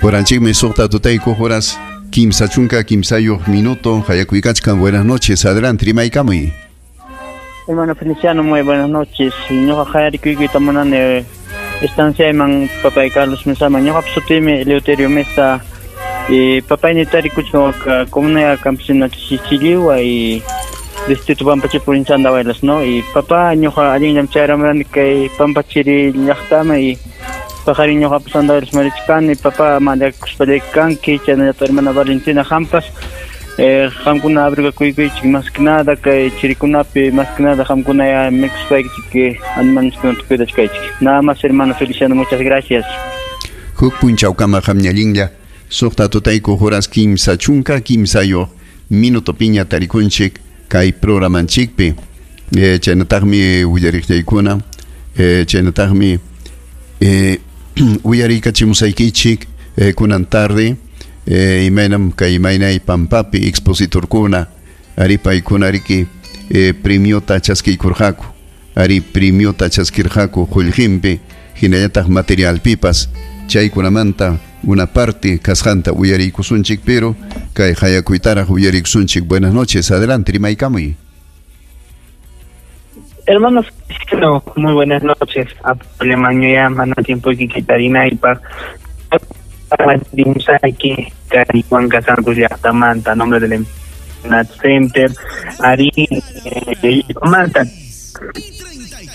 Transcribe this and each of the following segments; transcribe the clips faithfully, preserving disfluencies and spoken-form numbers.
Horanchikmi suqta tutayku horas kimsa chunka kimsayuq minuto. Hayakuykachkan, buenas noches. Adelante, rimaykamuy. Hermano Feliciano, muy buenas noches. Ñuqa hayarikuykita munani estanciayman papay Carlos Mesaman. Ñuqapa sutiymi Eleuterio Mesa. Y papay tarikuchkan comunidad campesina Chichiliwa y distrito Pampachiri provincia Andahuaylas, ¿no? Y papá ñuqa allinllam chayramurani kay Pampachiri llaqtama y pajarin ñuqapas Andahuaylas marichkani. Papá mañakuspallay kanki, chaynallataq hermana Valentina hampas. Eh, qamkuna abrigakuykichik más que nada kay chirikunapi, más que nada qamkuna ya mikuspaykichik animalkunata cuidachkaychik. Nada más, hermano Feliciano, muchas gracias. Huk punchawkama qamñallinlla suqta tutayku horas kimsa chunka kimsayuq minuto piña tarikunchik kay programanchikpi. Eh, chaynataqmi willariqllaykuna, eh, chaynataqmi eh, uyariykachimusaykichik eh, kunan tarde. Eh, imaynam kay imaynay pampapi expositorkuna ari paykuna riki eh, premiota chaskiykurqaku, ari premiota chaskirqaku qullqinpi hinallataq materialpipas. Chaykunamanta una parte kasqanta uyariykusunchik, pero kay hayakuytaraq uyariykusunchik. Buenas noches, adelante, rimaykamuy. Hermanos, muy buenas noches. Ya mana tiempo y llaqtamanta, nombre del Nat Center, Ari Manta,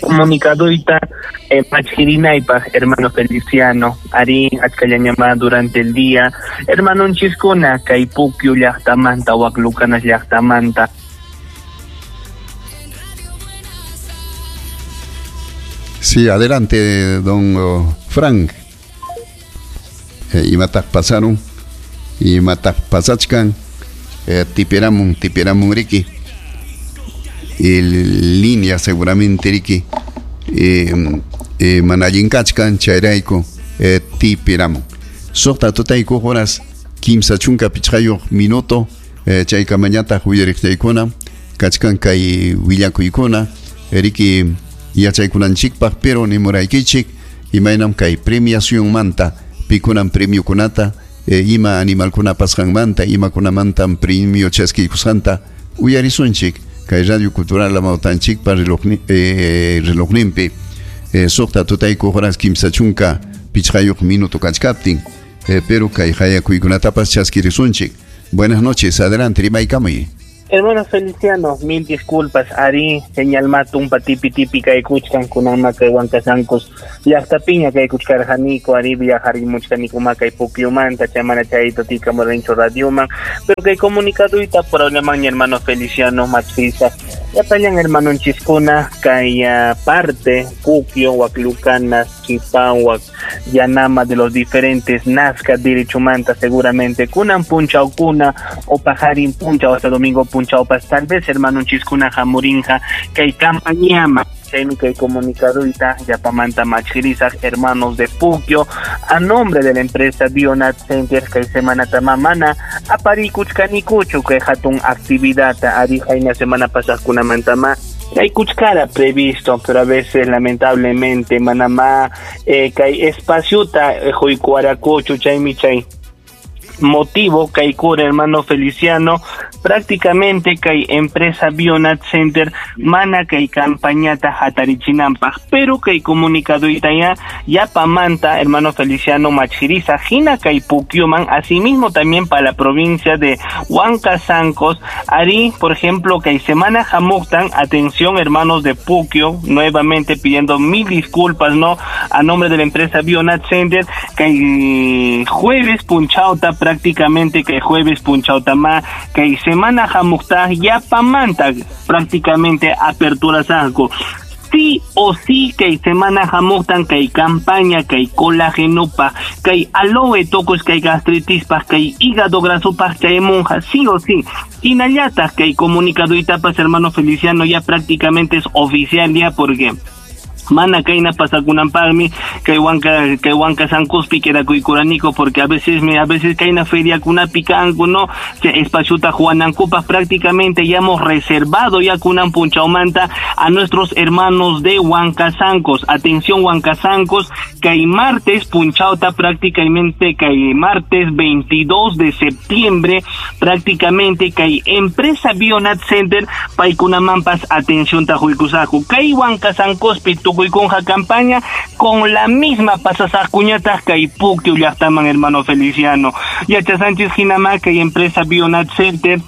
comunicadorita eh, Machkirinaypaq, hermano Feliciano, Ari achkallañama durante el día, hermano Nchiscuna, kay Puquio llaqtamanta, Huaclucanas llaqtamanta. Sí, adelante, don oh, Frank. Eh, imataq pasaron, imataq pasachkan, eh, tiperamun, tiperamun riki. El línea seguramente riki, eh, eh, manayinkachkan, chayrayku, eh, tiperamun. Suqta tutayku horas kimsa chunka pichqayuq minuto, eh, chaykamañataq willariqllaykuna, kachkan kay willakuykuna, riki yachaykunanchikpaq, pero nimuraykichik, imaynam kay premiación manta, pikunan premio kunata, eh, ima animalkuna pasqanmanta, imakunamantam premio chaskiykusqanta uyarisunchik kay Radio Cultural Amawtanchikpa relojni, eh, relojninpi, eh, suqta tutayku horas kimsa chunka pichqayuq minuto kachkaptin, eh, pero kay hayakuykunatapas chaskirisunchik. Buenas noches, adelante, rimaykamuy. Hermano Feliciano, mil disculpas, Ari, señal matumpa tipi tipi kaykuchkan kunan kay Huancasancos llaqtapiña kaykuchkarqaniku, Ari viajarimuchkaniku kay Puquiomanta, chamana chayto tika morencho radioman, pero kay comunicaduyta problema hermano Feliciano Machisa. Llapallan hermano Chiscuna, kay uh, parte Puquio, Huaclucanas, Chipahuac, Yanama de los diferentes Nazca, Dirichumanta seguramente, kunan punchawkuna o pajarin punchaw hasta domingo puncha Chaupas, tal vez hermano Chiscuna jamurinja kay campañama chaymi kay comunicadorita yapamanta machkirisaq hermanos de Puquio a nombre de la empresa Bionat Center kay semana tamamana aparikuchkanikuchu kay hatun actividad ari hayna semana pasaqkunamantama kay kuchkara previsto, pero a veces lamentablemente manama eh, kay espaciota eh, huykuarakuchu chaymi chay motivo kaikura hermano Feliciano prácticamente kay empresa Bionat Center mana kay campañata hatarichinanpaq, pero kay comunicado itaya yapamanta hermano Feliciano machirisa hina kay Puquioman, asimismo también para la provincia de Huancasancos ari, por ejemplo kay semana hamuqtan, atención hermanos de Puquio, nuevamente pidiendo mil disculpas, no, a nombre de la empresa Bionat Center kay jueves punchauta prácticamente que jueves punchautama que semana hamuqta yapamanta prácticamente apertura saco sí o sí que semana hamuqtan que campaña que colágeno pa que aloe tocos que gastritis pa que hígado graso pa que monja sí o sí inallata que comunicado y tapas hermano Feliciano ya prácticamente es oficial ya porque Mana kayna pasakunanpaqmi kay Huanca kay Huancasancospi quedakuykuraniku porque a veces me a veces kayna feriakunapi kanku, no, espaciota juanankupaq prácticamente ya hemos reservado ya kunan punchawmanta a nuestros hermanos de Huancasancos. Atención Huancasancos, kay martes punchawta prácticamente kay martes veintidós de septiembre prácticamente kay empresa Bionat Center paykunamampas atención tajuykusaku kay Huancasancospi tukuy campaña con la misma pasasajkuñataq kay Puquio llaqtaman hermano Feliciano. Yacha Sánchez hinama kay empresa Bionat Center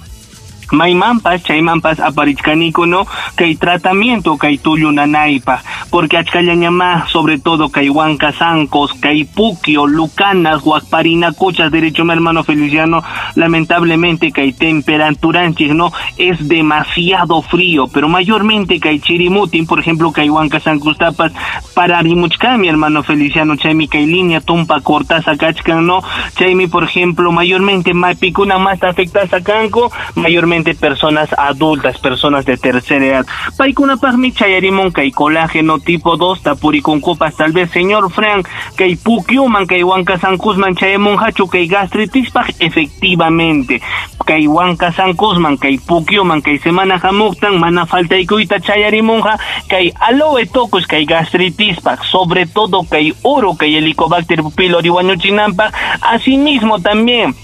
maymanpas chaymanpas aparichkaniku, no, kay tratamiento kay tullu nanaypaq porque achkallañamá sobre todo kay Huancasancos, kay Puquio, Lucanas, Huacparinacochas, derecho mi hermano Feliciano, lamentablemente kay temperaturanchis, no, es demasiado frío, pero mayormente kay Chirimutin, por ejemplo, kay Huancasancos tapas para rimuchka mi hermano Feliciano, chaymi kay línea tumpa cortaza kachkan, no, chaymi por ejemplo, mayormente mapikuna más afectaza kanku, mayormente personas adultas, personas de tercera edad. Paykunapaqmi chayarimun kay colágeno tipo dos tapurikunkupas tal vez señor Frank kay Pukyuman kay Huancasancosman chayamunqachu kay gastritispaq efectivamente kay Huancasancosman kay Pukyuman kay semana hamuqtan mana faltaykuyta chayarimunqa kay aloe tocos kay gastritispaq sobre todo kay uro kay Helicobacter pylori wañuchinanpaq asimismo también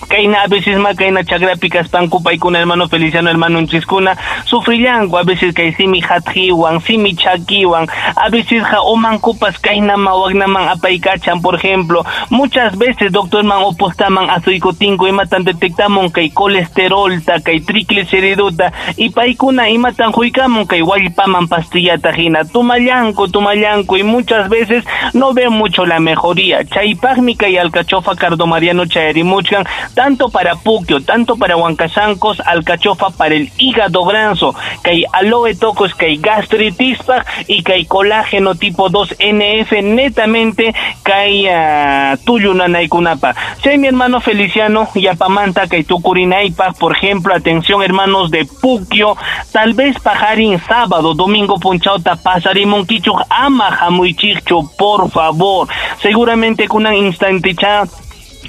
kayna a veces ma kayna chakrapi kaspanku paykuna hermano Feliciano hermano nchiskuna sufrillanku a veces kay simi hatjiwan simi chakiwan a veces ja omankupas kayna ma wagnaman apaykachan por ejemplo muchas veces doctor man opostaman asuykutinko imatan detectamun kay colesterolta kay trigliceriduta y paykuna imatan huykamun kay wallpaman pastillata hina tumallanku tumallanku y muchas veces no ven mucho la mejoría chaypaqmi kay alcachofa cardomariano chayarimuchkan tanto para Puquio, tanto para Huancasancos, alcachofa para el hígado granzo, kay aloe tocos, kay gastritispaq y kay colágeno tipo dos N F netamente kay uh, tullu nanaykunapa. Chay mi hermano Feliciano yapamanta kay tukurinaypaq, por ejemplo, atención hermanos de Puquio, tal vez pajarín sábado, domingo punchawta pasarimunkichuq ama hamuychikchu, por favor. Seguramente kunan instanticha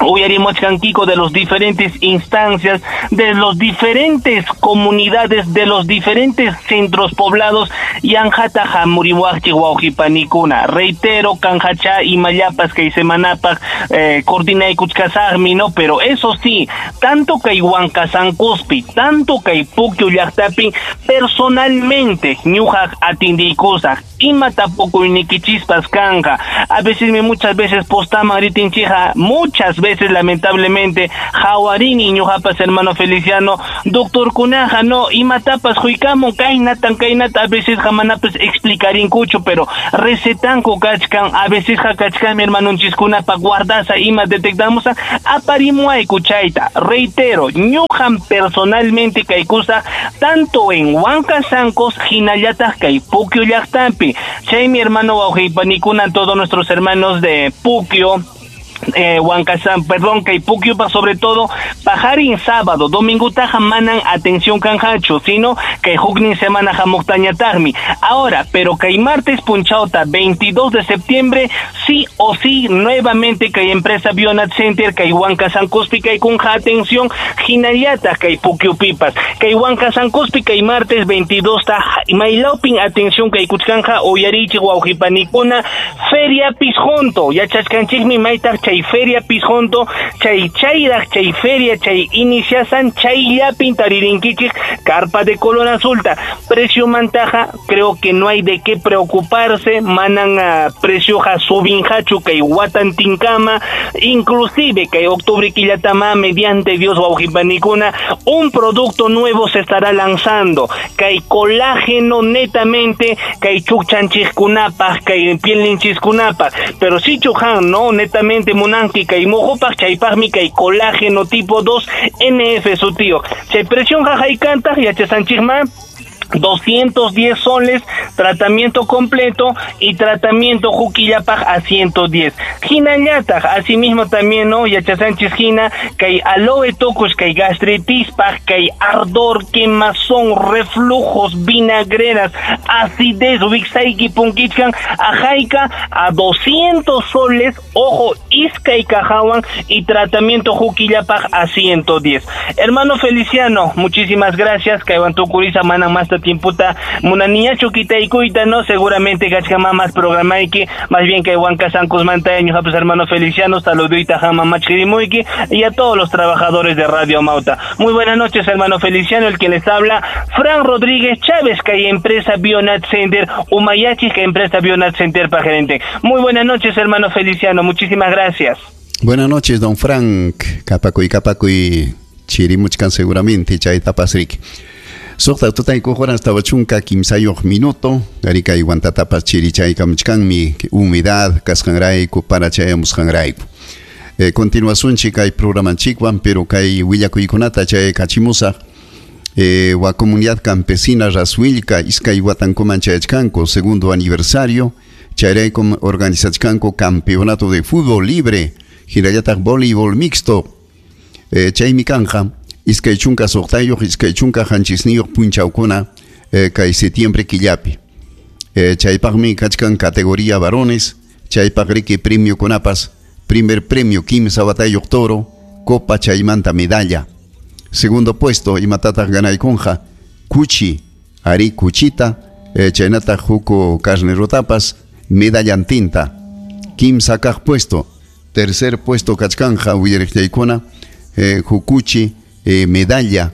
uyarimachkankiku de los diferentes instancias, de los diferentes comunidades, de los diferentes centros poblados yanjata hamuriwaqchi wawqipanikuna. Reitero, kanjacha y mayapas kay semanapak eh, coordinaykuchkasaqmi, no, pero eso sí, tanto kay Huancasancospi, tanto kay Puquio llaqtapi personalmente ñuqaq atindiykusaq ima tapukuynikichispas kanja. A veces muchas veces postaman ritinchija, muchas veces lamentablemente jawarini ñuqapas hermano Feliciano doctor kunaja no imatapas huykamun kaynatan kaynata a veces jamanapas explicarinkuchu pero recetanku kachkan a veces kachkan mi hermanonchiskunapa guardasa ima detectamos aparimuayku chayta. Reitero, ñuqan personalmente kaykusa tanto en Huancasancos hinallataq kay Puquio llaqtapi. Chay mi hermano wawqipanikuna todos nuestros hermanos de Puquio eh, Huancasan, perdón, kay Puquio pa sobre todo pajarin sábado, domingo taja manan atención canjacho, sino que huknin semana hamuqtañataqmi. Ahora, pero kay martes punchauta veintidós de septiembre, sí o sí, nuevamente kay empresa Bionat Center, kay Huancasancospi, kay kunja atención, hinayata kay Puquio pipas, kay Huancasancospi, kay martes veintidós ta maylaupin atención kay kuchkanja uyarichi wawqipanikuna, Feria Pisjonto, yachachkanchikmi maytaq chay Feria Pisjonto, chay chayraq chay feria chay iniciasan chayllapin taririnkichik carpa de color azulta. Precio mantaja, creo que no hay de qué preocuparse, manan a precio ja subinjachu kay watantinkama, inclusive kay octubre quillatama mediante Dios wawqipanikuna un producto nuevo se estará lanzando, kay colágeno netamente, kay chukchanchikkunapaq, kay pielninchiskunapaq, pero si chujan, no, netamente munanki kay mojopaq chaypaqmi kay colágeno tipo dos N F su tío. Chay presión jajaykantaq yachasanchikma doscientos diez soles, tratamiento completo y tratamiento Juquillapaj a ciento diez. Hinallataq, asimismo también, ¿no? Yachasanchis hina, kay aloe tukush, kay gastritispaj, kay ardor, quemazón, reflujos, vinagreras, acidez, wiksayki punkichkan, ajayka a doscientos soles, ojo, iskay kajawan y tratamiento Juquillapaj a ciento diez. Hermano Feliciano, muchísimas gracias, kaywan tukurisa manan más tiemputa munaniñachu kitaykuyta, no, seguramente kachkama más programayki, más bien que Huanca Sancos Mantaño, pues hermano Feliciano, saludita jama machkirimuyki y a todos los trabajadores de Radio Amauta. Muy buenas noches, hermano Feliciano, el que les habla, Fran Rodríguez Chávez, que hay empresa Bionat Center, Umayachi, que empresa Bionat Center para gerente. Muy buenas noches, hermano Feliciano, muchísimas gracias. Buenas noches, don Frank, kapakuy kapakuy chirimuchkan seguramente, chayta pasrik. Suqta tutaykuq horas tawa chunka kimsayuq minuto, arikay wantatapas chirichaykamuchkanmi humedad kasqanrayku para chayamusqanrayku. Eh, continuasunchik kay programanchikwan, pero kay willakuykunata chaykachimusaq. Eh, wa comunidad campesina Rasuilca iskay watankuman chayachkanku segundo aniversario, chayraykum organizachkanku campeonato de fútbol libre, hinallataq voleibol mixto. Eh, chaymi kanja iskay chunka suqtayuq, iskay chunka qanchisniyuq punchawkuna eh, kay septiembre killapi. Eh, chaypaqmi kachkan categoría varones, chaypaq riki premio kunapas, primer premio kimsa watayuq toro, copa chaymanta medalla. Segundo puesto imatataq ganaykunja, kuchi, ari kuchita, eh, chaynataq huko carnerotapas, medallantinta. Kimsa kaq puesto, tercer puesto kachkanja willariqllaykuna, eh, hukuchi, Eh, medalla,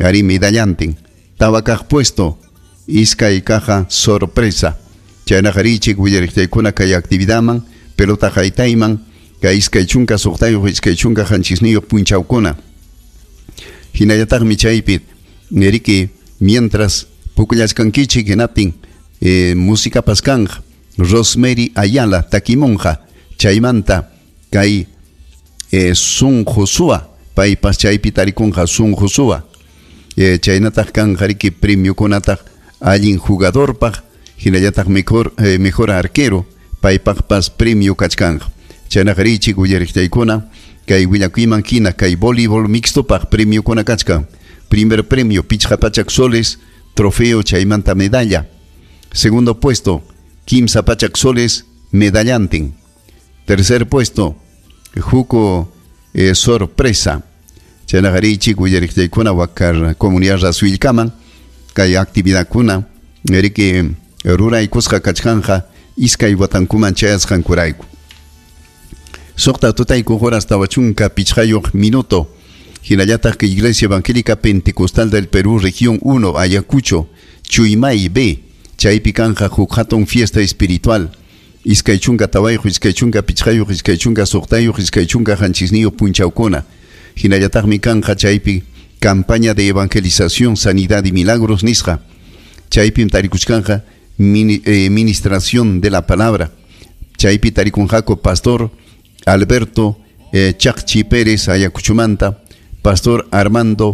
ari medallantin. Tabacaj puesto, iskay caja sorpresa. Chaynaqarichik willariqllaykuna kay actividadman, pelota haytayman, kay iskay chunka suqtayuq, iskay chunka qanchisniyuq punchawkuna. Hinallataqmi chaypi, neriki, mientras pukllachkankichik hinaptin, eh, música pascanja, Rosemary Ayala, takimonja, chaymanta, kay eh, Sun Josua, paypas chaypi tarikunqa Sun Josua. Eh, chaynataq kanqa riki premiokunataq allin jugadorpaq, hinallataq mejor, eh, mejor arquero, paypaqpas premio kachkanqa. Chaynaqa richik willariqllaykuna, kay willakuyman hina kay voleibol mixtopaq premiokuna kachkan. Primer premio pichqa pachak soles, trofeo chaymanta medalla. Segundo puesto, kimsa pachak soles, medallantin. Tercer puesto, juco Eh, sorpresa. Chaynaqarichik willariqllaykuna wakar comunidad Rasuilkaman kay actividadkuna riki ruraykusqa kachkanja iskay watankuman chayasqankurayku. Suqta tutaykuq horas tawa chunka pichqayuq minuto. Hinallataq Iglesia Evangélica Pentecostal del Perú, Región uno, Ayacucho, Chuymay B, chaypi kanja huk hatun fiesta espiritual. Iskay chunka tawayuq, iskay chunka pichqayuq, iskay chunka suqtayuq, iskay chunka qanchisniyuq punchawkuna. Hinallataqmi kanja chaypi campaña de evangelización, sanidad y milagros nisqa. Chaypim tarikuchkanja mini, eh, ministración de la palabra. Chaypi tarikunjako pastor Alberto eh, Chacchi Pérez Ayacuchumanta, pastor Armando